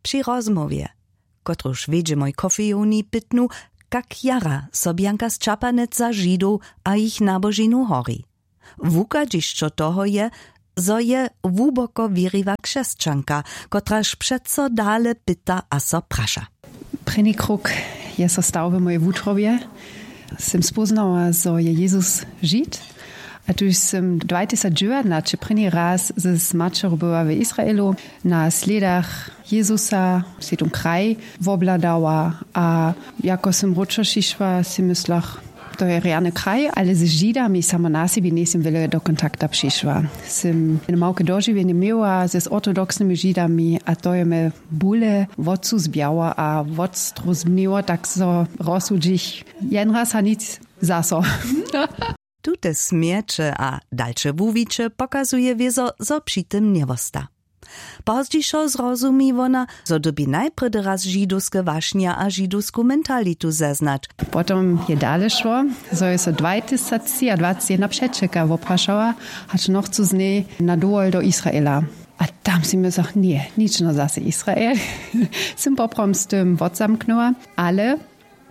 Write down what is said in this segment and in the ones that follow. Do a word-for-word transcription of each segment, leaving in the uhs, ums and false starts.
při rozmołwje, kotruž wjedźemoj kofejowni pytnu, kak jara so bjanka z čapanec za židow a jich nabožinu hori. Wuchadźišćo toho je, zo je hłuboko wěriwa křesćanka, kotraž přeco dale pyta a so praša. Prěni krok je so stał w mojej wutrobje. Sym spóznała, zo je jezus žid. A tuž sym dwajtysacdźewjatnaće prěni raz z maćerju była w israelu, na slědach jezusa sej tón kraj wobhladała. A jako sym wróćo přišła, sej myslach, to je rjany kraj, ale z židami samo na sebi njejsym wjele do kontakta přišła. Sym jene małke dožiwjenje měła z ortodoksnymi židami a to je mje bóle wocu zbjało a wotstrozbniło, tak zo rozsudźich jen raz a nic zaso. Tute smjeće a dalše wuwiće pokazuje wězo, zo při tym njewosta. Pozdźišo zrozumi wona, zo dyrbi najprjedy raz židowske wašnja a židowsku mentalitu zeznać. Potom je dale šło, zo je so dwajtysactřiadwaceći jedna přećelka woprašała, hač nochcu z njej na dowol do israela. A tam sej mysach, ně, nično zaso israel. Sym poprawom z tym wotzamknyła, ale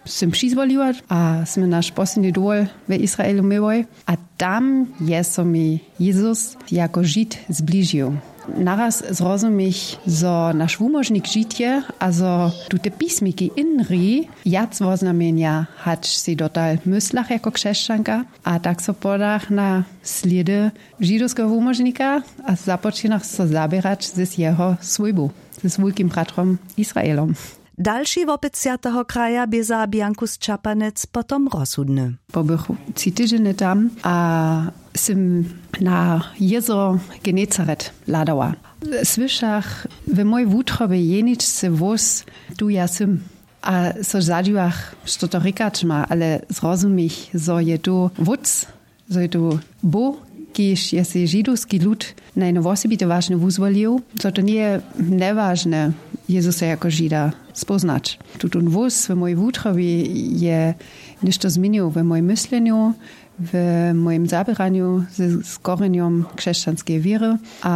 sym přizwoliła a smy naš posledni dowol w israelu měłoj. A tam je so mi jezus jako žid zbližił. Naraz zrozumich, zo naš wumóžnik žid je a zo tute pismiki inri wjac woznamjenja, hač sej dotal myslach jako křesćanka. A tak so podach na slědy židowskeho wumóžnika a započinach so zaběrać z jeho swójbu, z wulkim bratrom israelom. Dalši wopyt swjateho kraja bě za bjanku z čapanec potom rozsudny. Pobych tři tydźenje tam a sym na jězro genezaret hladała. Słyšach w mojej wutrobje jeničce hłós, tu ja sym. A so zadźiwach, što to rěkać ma, ale zrozumich, zo je tu wótc, zo je tu bóh, kiž je sej židowski lud na jeno wosebite wašnje wuzwolił, zo to njeje njewažne jezusa jako žida spóznać. Tutón hłós w mojej wutrobje je něšto změnił w mojim myslenju, w mojim zaběranju z korjenjom křesćanskeje wěry. A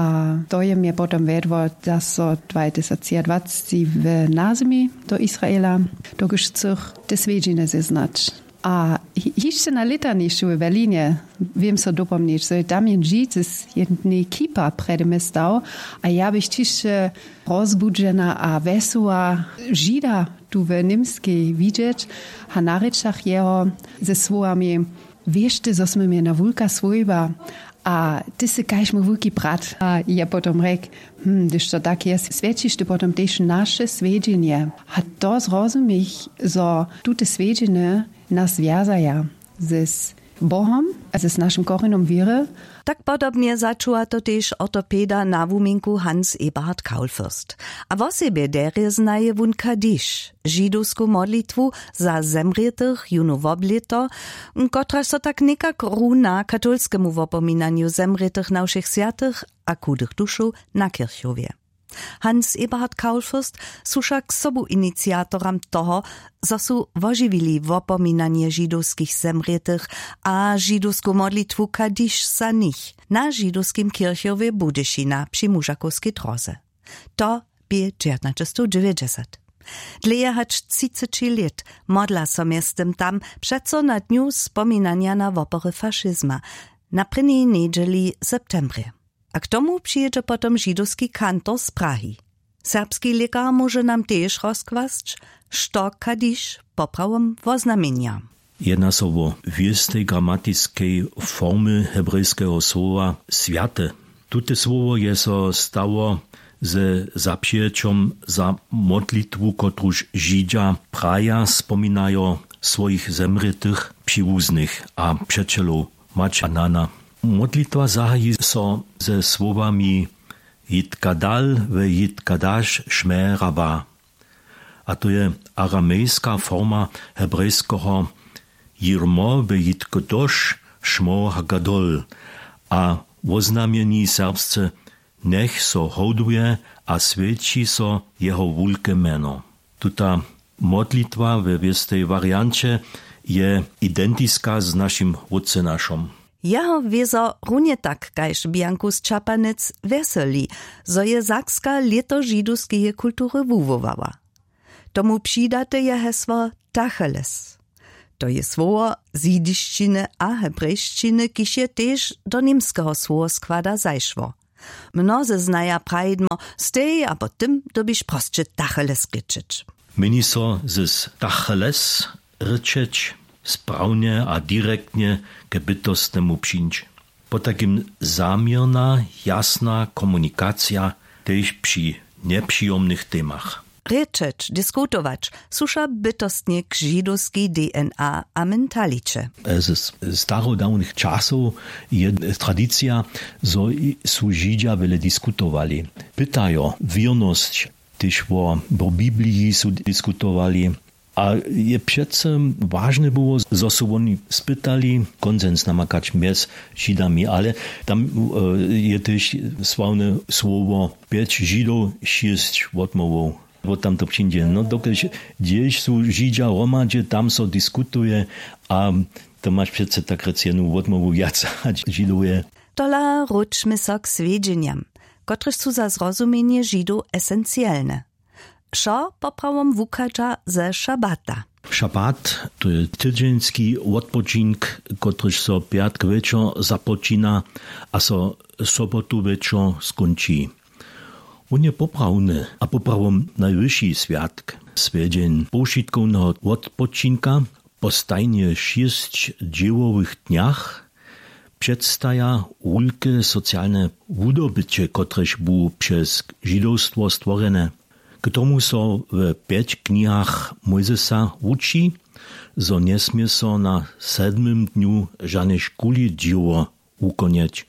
to je mje potom wjedło zaso dwajtysactřiadwaceći w nazemi do israela, dokelž chcych te swjedźiny zeznać. A hišće na lětanišću w berlinje wěm so dopomnić, zo je tam jen žid z jednej kipa prjedy mje stał. A ja bych ćišće rozbudźena a wjesoła žida tu w němskej widźeć. A na rěčach jeho ze słowami: „Wěš ty, zo smy měli na wulka swójba, a ty sy kaž mój wulki brat.“ A je potom rjekł: „Hm, hdyž to tak je, swjećiš ty potom tež naše swjedźenje.“ A to zrozumich, zo tute swjedźenje nas wjazaja z bohom a z našim korjenom wěry. Tak podobnje začuwa to tež ortopeda na wuměnku hans eberhard kaulfürst. A wosebje derje znaje wón kadiš, židowsku modlitwu za zemrětych jónu woblěto, kotraž so tak někak runa katolskemu wopominanju zemrětych na wšěch swjatych a chudych dušow na kirchowje. Hans eberhard kaulfürst su wšak sobuiniciatoram toho, zo su wožiwili wopominanje židowskich zemrětych a židowsku modlitwu kadiš za nich na židowskim kirchowje budyšina při mužakowskej dróze. To bě dźewjatnaćestowdźewjećdźesat. Dlěje hač třiceći lět modla so mjeztym tam přeco na dnju spominanja na wopory fašizma, na prěnjej njedźeli w septembrje. A k tomu přijědźe potom židowski kantor z prahi. Serbski lěkar móže nam tež rozkłasć, što kadiš poprawom woznamjenja. Jedna so wo wěstej gramatiskej formy hebrejskeho słowa swjate. Tute słowo je so stało ze zapřijećom za modlitwu, kotruž židźa praja spominajo swojich zemrětych, přiwuznych a přećelow, mać a nana. Modlitwa zahaji so ze słowami: „Jitka dal we jitka daš šmera wa.“ A to je aramejska forma hebrejskeho „Jirmo we jitko doš šmo hagadol“. A woznamjeni serbsce „Njech so hołduje a swjeći so jeho wulke mjeno“. Tuta modlitwa we wěstej warianće je identiska z našim Wótcenašom. Jeho wězo runje tak kaž bjanku z čapanec wjeseli, zo je sakska lěto židowskeje kultury wuwowała. Tomu přidate je hesło tacheles. To je słowo z jidišćiny a hebrejšćiny, kiž je tež do němskeho słowoskłada zašło. Mnozy znaja prajidło, z tej abo tym dyrbiš prosće tacheles rěčeć. Měni so z tacheles rěčeć sprawnje a direktnje k bytostnemu přińć. Potajkim zaměrna jasna komunikacija, tež při njepřijomnych temach. Rěčeć, diskutować, su wša bytostnje k židowskej DNA a mentaliće. Z starodawnych časow je tradicija, zo su židźa wjele diskutowali, pytajo wěrnosć, tež wo bibliji su diskutowali. A je přecy wažne było, zo su woni spytali konsens namakać mjez židami, ale tam je tež sławne słowo pjeć židow šěsć wotmołwow. Wot tam to přińdźe, no dokelž hdźež su židźa hromadźe, tam so diskutuje. A to maš přecy tak rěc jednu wotmołwu wjac hač židow je. Tola wróćmy so k swjedźenjam, kotrež su za zrozumjenje židow esencielne. Wšo poprawom wuchadźa ze šabata. Šabat, to je tydźeński wotpočink, kotryž so pjatk wječor započina a so sobotu wječor skónči. Wón je poprawny a poprawom najwyši swjatk, swjedźeń powšitkowneho wotpočinka. Po stajnje šěsć dźěłowych dnjach předstaja wulke socialne wudobyće, kotrež bu přez židowstwo stworjene. K tomu so w pjeć knihach Mójzesa wuči, zo njesmě so na sedmym dnju žane škuli dźěło wukonjeć.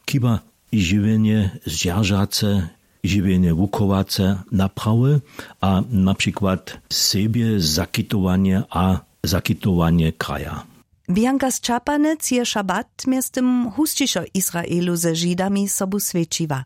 Chiba žiwjenje zdźeržace, žiwjenje wuchowace naprawy a na přikład sebje zakitowanje a zakitowanje kraja. Bjanka z čapanec je šabat mjeztym husćišo w Israelu ze židami sobu swjećiła.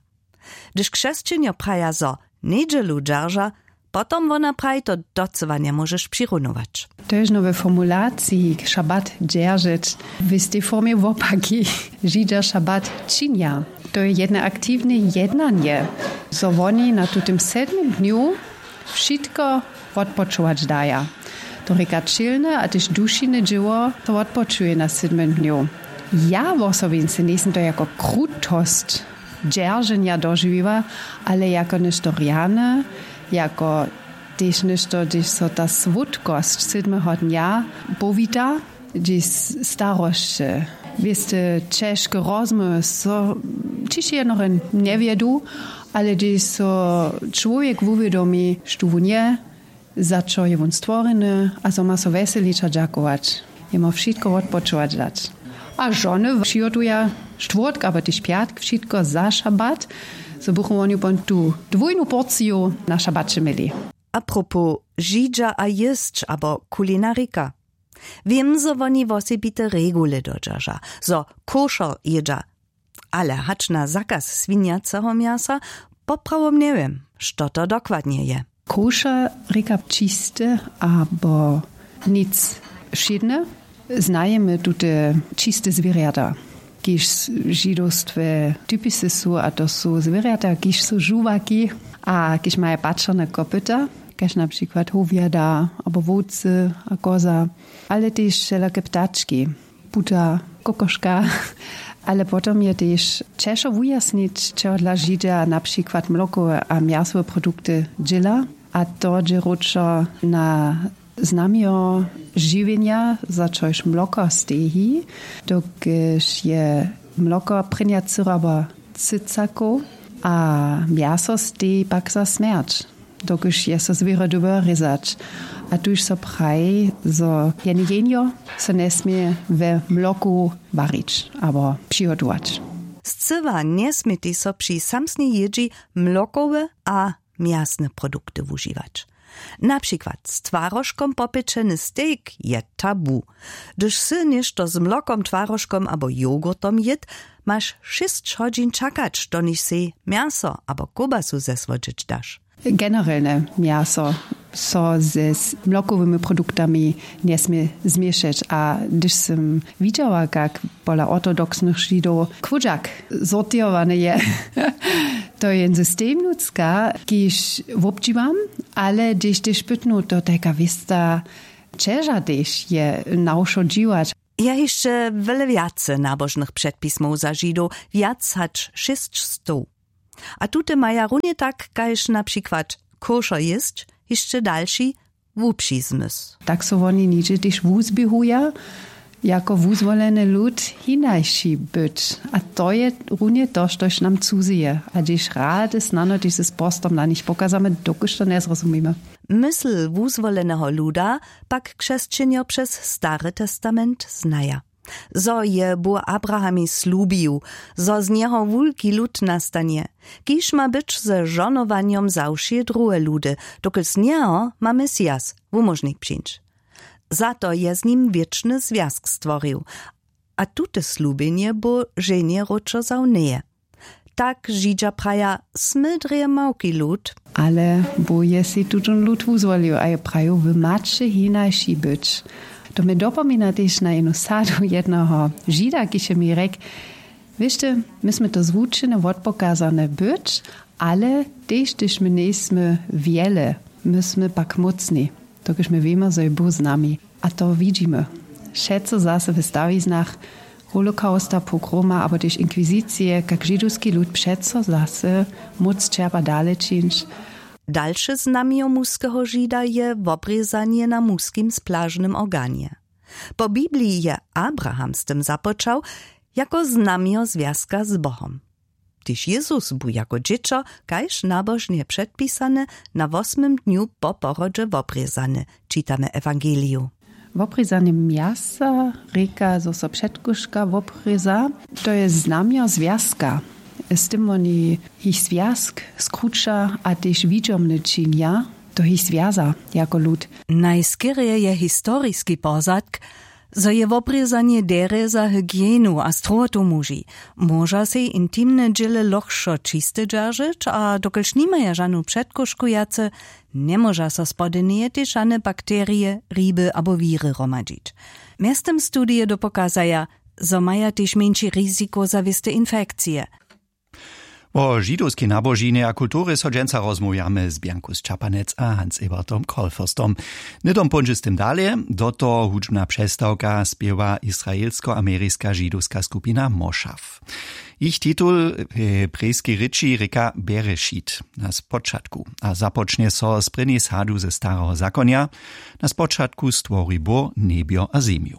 Hdyž křesćenjo praja zo njedźelu dźerža, potom wona praji to docyła njemóžeš přirunować. To je žno we formulaciji šabat dźeržeć w istej formje wopaki. Židźa šabat činja. To je jedne aktiwne jednanje, zo woni na tutym sedmym dnju wšitko wotpočować daja. To rěka ćělne a tež dušine dźěło to wotpočuje na sedmym dnju. Ja wosobince njejsym to jako krutosć dźerženja dožiwiła, ale jako něšto rjane, jako tež něšto, hdźež so ta słódkosć sydmeho dnja powita, hdźež starosće, wěste, ćežke rozmołwy so ćiž jednore njewjedu, ale hdźež so čłowjek wuwědomi, štó wón je, za čo je wón stworjeny a zo ma so wjeselić a dźakować, jemu wšitko wotpočować dać. A žony přihotuja štwórtk abo tež pjatk wšitko za šabat, zo bychu woni pon tu dwójnu porciju na šabaće měli. A propos židźa a jěsć abo kulinarika. Wěm, zo woni wosebite regule dodźerža, zo košer jědźa, ale hač na zakaz swinjaceho mjasa poprawom njewěm, što to dokładnje je. Košer rěka čiste abo nic wšědne. Znajemy tute čiste zwěrjata, kiž w židowstwje typisy su, a to su zwěrjata, kiž su žuwaki a kiž maja pačerne kopyta, kaž na přikład howjada abo wowcy a koza, ale tež wšelake ptački, puta, kokoška. Ale potom je tež ćežko wujasnić, čehodla židźa na přikład mlokowe a mjasowe produkty dźěla, a to dźe wróćo na znamjo žiwjenja, za čož mloko steji, dokelž je mloko prěnja cyraba cycakow a mjaso steji pak za smjerć, dokelž je so zwěry dyrbjał rězać. A tuž so praji, zo jene jenjo so njesmě we mloku warić abo přihotować. Scyła njesmětej so při samsnej jědźi mlokowe a mjasne produkty wužiwać. Na přikład z twarožkom popječeny stejk je tabu. Hdyž sy něšto z mlokom, twarožkom abo jogurtom jěd, maš šěsć hodźin čakać, doniž sej mjaso abo kołbasu zesłodźeć daš. Generelne mjaso So ze mlokowymi produktami njesmě změšeć. A hdyž sym widźała, kak pola ortodoksnych Židow chłódźak sortěrowany je, to je jen system nutřka, kiž wobdźiwam, ale hdyž tež pytnu, to tajka wěsta ćeža tež je na wšo dźiwać. Je hišće wjele wjace nabožnych předpismow za Židow, wjac hač šěsćstow. A tute maja runje tak kaž na přikład košer jěsć hišće dalši wupřizmysł. Tak so woni nihdźe tež wuzběhuja jako wuzwoleny lud, hinaši być. A to je runje to, štož nam cuzije. A hdyž rady snano tež z postom na nich pokazamy, dokelž to njezrozumimy. Mysl wuzwoleneho luda pak křesćenjo přez Stary testament znaja. Zo je Bóh Abrahamej slubił, zo z njeho wulki lud nastanje, kiž ma być ze žonowanjom za wšě druhe ludy, dokelž z njeho ma Mesias, wumóžnik, přińć. Za to je z nim wěčny zwjazk stworił. A tute slubjenje Bóh ženje wróćo wzał njeje. Tak Židźa praja, smy drje małki lud. Ale Bóh je sej tutón lud wuzwolił a je prajił, wy maće hinaši być. To mje dopomina tež na jenu sadu jedneho Žida, kiž je mi rjekł: Wěšte, my smy to zwučene, wotpokazane być, ale tež hdyž my njejsmy wjele, my smy pak mócni, dokelž my wěmy, zo je Bóh z nami. A to widźimy wšetcy zaso w stawiznach holokausta, pogroma abo tež inkwizicije, kak židowski lud přeco zaso móc čerpa dale čińć. Dalše znamjo muskeho Žida je wobrězanje na muskim splažnym organje. Po Bibliji je Abraham z tym započał, jako znamjo zwjazka z Bohom. Tež Jezus bu jako dźěćo, kaž nabožnje předpisane, na wosmym dnju po porodźe wobrězany, čitamy w ewangeliju. Wobrězanje mjasa rěka, zo so předkuška wobrěza. To je znamjo zwjazka. Z tym woni jich zwjazk skruća a tež widźomny činja. To jich zwjaza jako lud. Najskerje je historiski pozadk, zo je wobrězanje derje za hygienu a strohotu muži. Móža sej intimne dźěle lochšo čiste dźeržeć a dokelž nimaja žanu předkušku wjace, njemóža so spodyneje tež žane bakterije, hriby abo wiry hromadźić. Mjeztym studije dopokazaja, zo maja tež mjeńši riziko za wěste infekcije. Wo židowskej nabožinje a kulturje so dźensa rozmołwjamy z Bjanku Sćapanec a Hans-Ebertom Kolferstom. Hnydom póńdźe z tym dale, do toho hudźbna přestawka spěwa israelsko-ameriska židowska skupina Moshav. Jich titul w hebrejskej rěči rěka Berešit, na spočatku, a započnje so z prěnjej sadu ze Stareho zakonja: Na spočatku stwori Bóh njebjo a zemju.